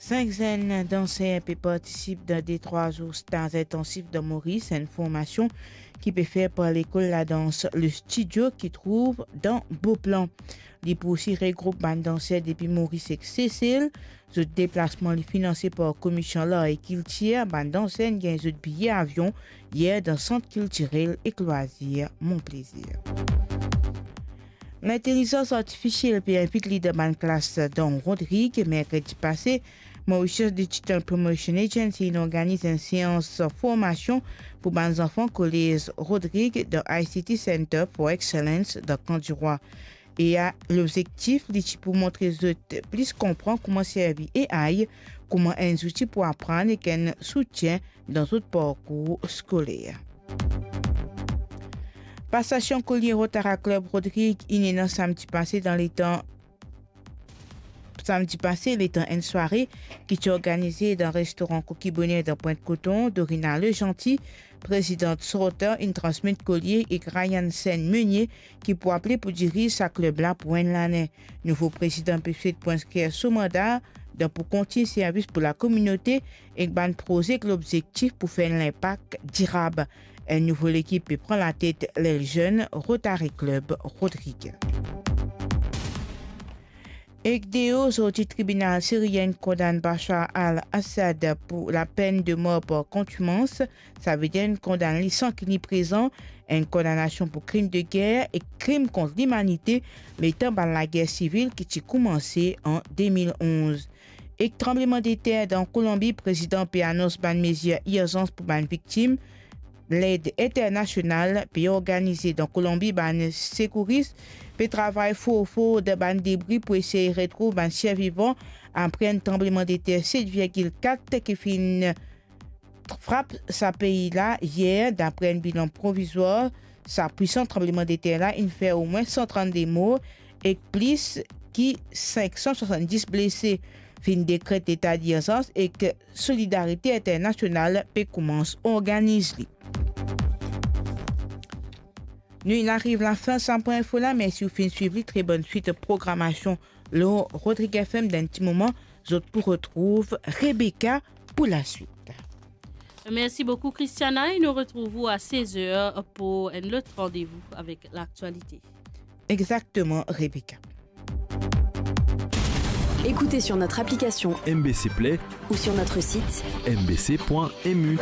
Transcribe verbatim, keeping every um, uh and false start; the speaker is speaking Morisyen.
Sink zenn danser pe partisip dan de trwa zour staz intansif dan Moris, enn formasion ki pe fer par lekol ladans Le Studio ki trouv dan Beauplan. Li pou osi regroup bann danser depi Moris ek Sesel. Zot deplasman li finanse par Komision Lar e Kiltir. Bann danser inn gagn zot biye avion yer dan Sant Kiltirel ek Lwazir Mon Plezir. Lintelizans artifisiel pe invit li dan bann klas dan Rodrig. Merkredi pase, Mauritius Digital Promotion Agency inn organiz enn seans formasion pou bann zanfan kolez Rodrig dan I C T Center for Excellence dan Kandirwa. E a, lobzektif, li ti pou montre zot plis konpran kouma servi A I kouma enn zouti pou aprann ek enn soutien dan zot parkour skoler. Pasasion kolie Rotary Club Rodrig inn ena samdi pase dan letan, samdi pase, letan enn sware ki ti organize dan restoran Koki Boner dan Pwint Koton. Dorina Lejanti, prezidan Sortan, inn transmet kolie ek Ryan Sen Meunier, ki pou apel pou diriz sa klub la pou enn lane. Nouvo prezidan pe swet pou inskrir so manda dan pou kontign servis pou lakominote ek bann proze ek lobzektif pou fer enn linpak dirab. Enn nouvo lekip pe pran latet Lel Zenn Rotary Club Rodrig. Ek deo zordi, tribinal sirien kondann Bashar al-Assad pou lapenn de mor par kontimans, savedir inn kondann li san ki li prezan, enn kondanasion pou krim de ger ek krim kont limanite, letan bann lager sivil ki ti koumanse an de mil onz. Ek tranblemandeter dan Kolonbi, prezidan pe anons bann mezir irzans pou bann viktim. Led internasional pe organize dan Kolonbi, bann sekouris pe travay for for dan bann debri pou esey retrouv bann sirvivan apre enn tranblemandeter set virgil kat ki finn frap sa pei la yer. Dapre enn bilan provizwar, sa pwisan tranblemandeter la inn fer omwin san trannde mor ek plis ki sink san swasann-dis blese. Finn dekret leta dirzans ek solidarite internasional pe koumans organiz li. Nou inn ariv lafin sa pwin info la, mersi ou finn swiv li. Tre bonn swit programasion lor Rodrig F M. Dan enn ti moman, zot pou retrouv Rebecca pou laswit. Merci beaucoup, Christiana, et nous retrouvons à seize heures pour un autre rendez-vous avec l'actualité. Exactement, Rebecca. Écoutez sur notre application M B C Play ou sur notre site M B C point M U.